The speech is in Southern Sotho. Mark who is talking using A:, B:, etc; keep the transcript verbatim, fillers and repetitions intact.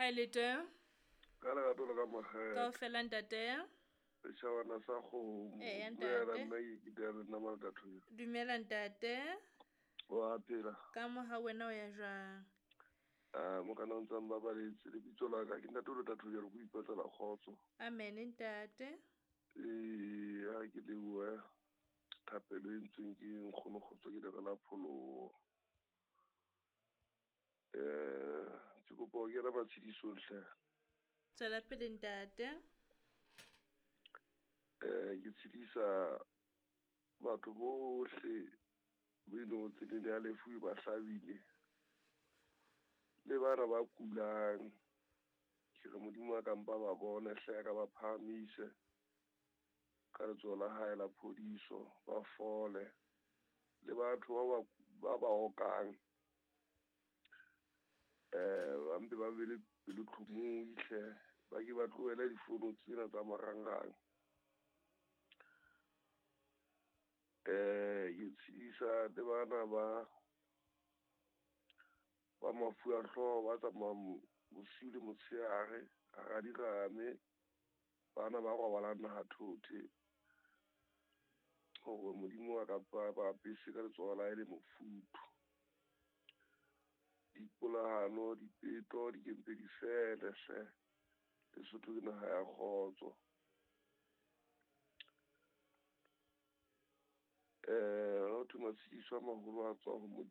A: Kae le teng?
B: Ka lerato le ka makgethe.
A: Kaofela ntate.
B: Setjhabana sa kgomo.
A: Eya,
B: Dumela,
A: ntate.
B: nna ke ke le nna Malekathoya.
A: Dumela ntate.
B: Wa phela.
A: Ka moha wena o ya jwang?
B: Ah, mokana o ntsang babaletse lebitso la ka ke ntate o le Tathoya re go ipatlela kgotso.
A: Amen ntate.
B: Eh, ha ke lebohe thapelo e entsweng ke nkgono kgotso ke lere la pholoho. Eh, ke kopa ho kena matshedisong hle.
A: Tswela pele ntate.
B: Eh, ke tshedisa batho bohle bo e leng hore tseleng ya lefu e ba hlabile. Le bana ba kulang. Ke re Modimo a ka mpa ba bone hle a ka ba phahamise ka letsoho la hae la phodiso, ba fole. Le batho ba ba ba ba okang eh ba mpe ba be le pelotlhomohi hle, ba ke ba tlohele difono tsena tsa marangrang. Eh, ke tshedisa le bana ba ba mafu a hlooho ba tsamayang bosiu le motshehare hara dirame, bana ba robalang nahathothe, hore Modimo a ka ba ba apese ka letsoho la hae le mofuthu. Dipolahano, dipeto di ke mpe di fele hle. Lesotho ke naha ya kgotso. Eh, ho thwe matshediso a maholo a tswa ho Modimo.